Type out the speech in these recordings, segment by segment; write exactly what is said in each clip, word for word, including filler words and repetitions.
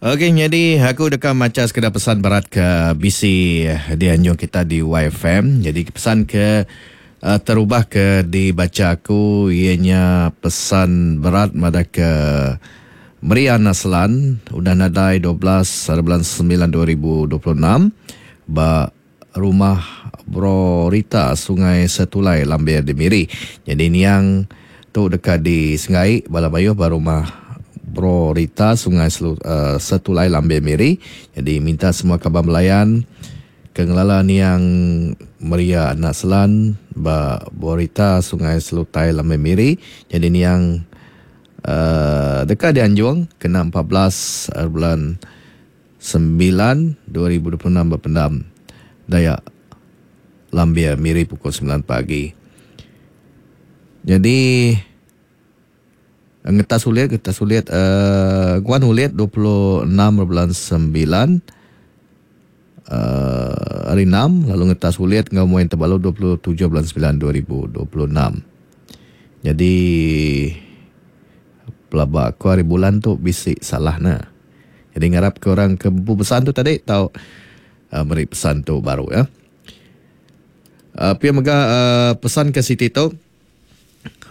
Okey, nyadi aku deka macha sekeda pesan berat ke bisi dianjung kita di Y F M. Jadi pesan ke uh, terubah ke dibaca aku ianya pesan berat madah ke Maria Naslan udah nadai dua belas bulan sembilan dua ribu dua puluh enam ba rumah Bro Rita Sungai Setulai Lambir di Miri. Jadi niang tu dekat di Sengai bala mayuh ba rumah Bro Rita Sungai Selu, uh, Setulai Lambir Miri. Jadi minta semua kaban belayan ke ngelala niang Maria Naslan ba Bro Rita Sungai Selutai Lambir Miri. Jadi niang Uh, dekat dianjung kena empat belas bulan sembilan dua ribu dua puluh enam berpendam Dayak Lambir Miri pukul sembilan pagi. Jadi ngetas ulit, ngetas ulit uh, guan ulit dua puluh enam bulan sembilan uh, hari enam, lalu ngetas ulit ngau muin terbalu dua puluh tujuh bulan sembilan dua ribu dua puluh enam. Jadi pelaba aku hari bulan tu bisik salah na. Jadi ngarap ke orang ke bumpu pesan tu tadi tau uh, beri pesan tu baru ya. Uh, pia mega uh, pesan ke Siti tu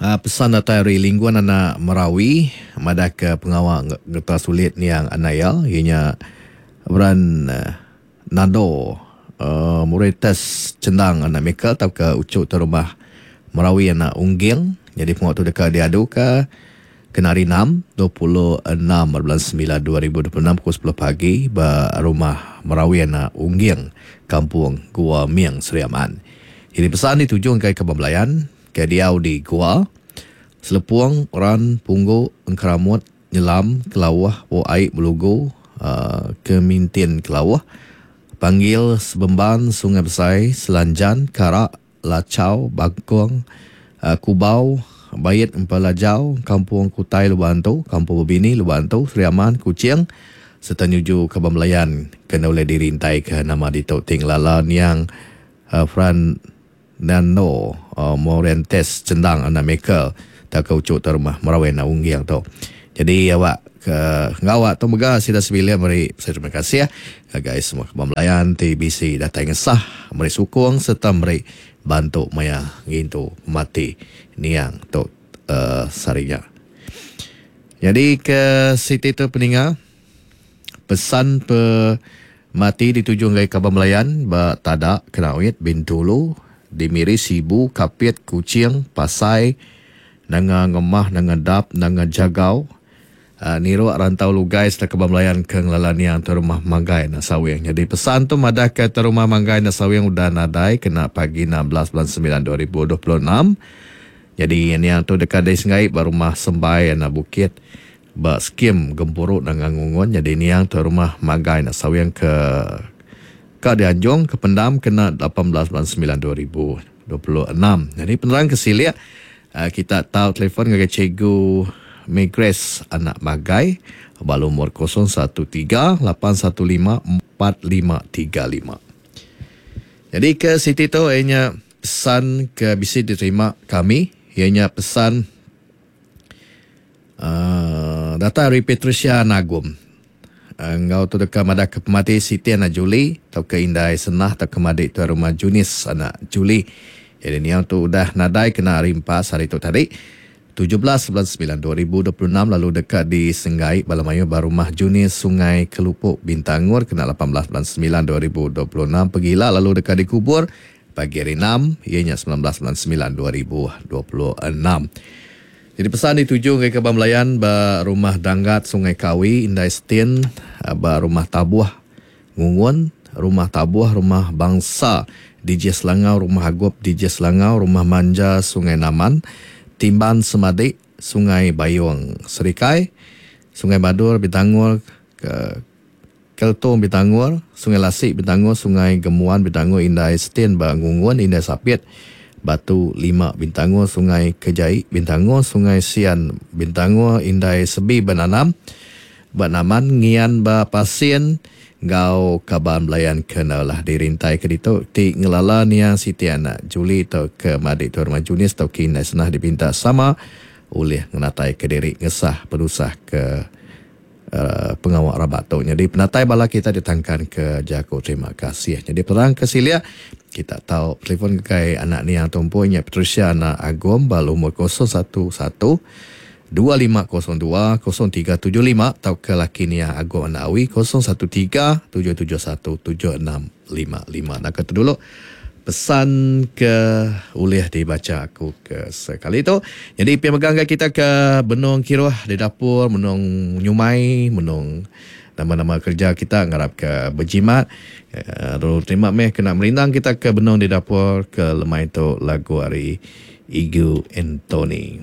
uh, pesan datang dari lingguan anak Merawi madah ke pengawal getah sulit niang anaya ianya beran uh, nado uh, Muretes Cendang anak Michael tau ke ucuk tu rumah Merawi anak Ungging. Jadi pengawal tu dekat diadu ke kena hari enam, dua puluh enam bulan sembilan dua ribu dua puluh enam pukul sepuluh pagi ba rumah Merawi anak Ungging, Kampung Gua Miang, Seri Aman. Jadi pesan dituju ke Kebun Belayan, ke diau di Gua, Selepung, Ran, Punggu, Engkeramut, Nyelam, Kelawah, Wo Aik, Belugu, uh, Kemintin Kelawah, Panggil, Sebemban, Sungai Besai, Selanjan, Karak, Lacau, Bangkong, uh, Kubau, Bayit Empalajau, Kampung Kutai Lubantu, Kampung Bebini Lubantu, Seri Aman, Kuching, serta nyuju Kebun Belayan kena oleh dirintai ke nama di Tok Ting Lala niang uh, Fran Nano uh, Morentes Cendang anak Michael tak ke ucuk rumah Merawi anak Ungging tu. Jadi awak ke ngawak tu mega sida sebilik meri saya terima kasih ya guys semua Kebun Belayan T B C datang ngesah meri sukong serta meri bantu maya ngintu mati niang tu uh, sarinya. Jadi ke Siti tu peninga pesan pe mati dituju ngai Kebun Belayan ba Tadak Kenawit Bintulu di Miri Sibu Kapit Kuching Pasai Nanga Ngemah Nanga Dap Nanga Jagau uh, Niro Rantau Lugai serta Kebun Belayan ke ngelala niang tu rumah Manggai Nasawing. Jadi pesan tu madah ke rumah Manggai Nasawing udah nadai kena pagi enam belas bulan sembilan dua ribu dua puluh enam. Jadi niang tu dekat dari Sengai ba rumah Sembai anak Bukit ba skim Gempuruk Nanga Ngungun. Jadi niang tu rumah Manggai Nasawing ke ke dianjung ke pendam kena lapan belas bulan sembilan dua ribu dua puluh enam. Jadi penerang ke silik kita tahu telefon dengan cikgu Migres anak Magai bal umur kosong satu tiga lapan satu lima empat lima tiga lima. Jadi ke Siti tu ianya pesan ke bisi diterima kami ianya pesan uh, data dari Patricia Nagum. Engau tu dekat madah ke pemati Siti anak Juli atau ke Indai Senah atau ke madik tu rumah Junis anak Juli. Jadi ni yang tu udah nadai kena hari empat hari tu tadi tujuh belas bulan sembilan dua ribu dua puluh enam lalu dekat di Senggai Balamayu Barumah Junis Sungai Kelupuk Bintangur kena lapan belas bulan sembilan dua ribu dua puluh enam pegila lalu dekat dikubur pagi hari enam ianya sembilan belas bulan sembilan dua ribu dua puluh enam. Jadi pesan dituju ke Kebun Belayan ba rumah Danggat Sungai Kawi Indai Stin ba rumah Tabuh Ngungun rumah Tabuh rumah Bangsa D J Selangau rumah Agop D J Selangau rumah Manja Sungai Naman Timban Semadik Sungai Bayung Serikai Sungai Badur Bintangur ke Keltong Bintangur Sungai Lasik Bintangur Sungai Gemuan Bintangur Indai Stin ba Ngungun Indai Sapit Batu Lima Bintangur Sungai Kejai Bintangur Sungai Sian Bintangur Indai Sebi Benanam Banaman Ngian Ba Pasien Gau Kaban Belayan kenalah dirintai ke ditu ti ngelala niang Siti anak Juli atau ke madik tu rumah Junis atau ke Indai Senah dipinta sama oleh ngenatai ke diri ngesah penusah ke uh, pengawa rabat tu. Jadi penatai bala kita ditangkan ke jaku terima kasih. Jadi perang ke silia kita tahu telefon ke anak ni yang tumpunya Patricia anak Agom bal umur kosong satu satu dua lima kosong dua kosong tiga tujuh lima atau ke laki ni yang Agom anak Awi kosong satu tiga tujuh tujuh satu tujuh enam lima lima. Nak kata dulu pesan ke ulih dibaca aku ke sekali tu. Jadi pi megang kita ke Benung Kiruh di dapur, Benung Nyumai, Benung nama-nama kerja kita ngarap ke berjimat. Lalu terima meh kena merindang kita ke Benung di dapur ke lemai tu lagu hari Igu Anthony.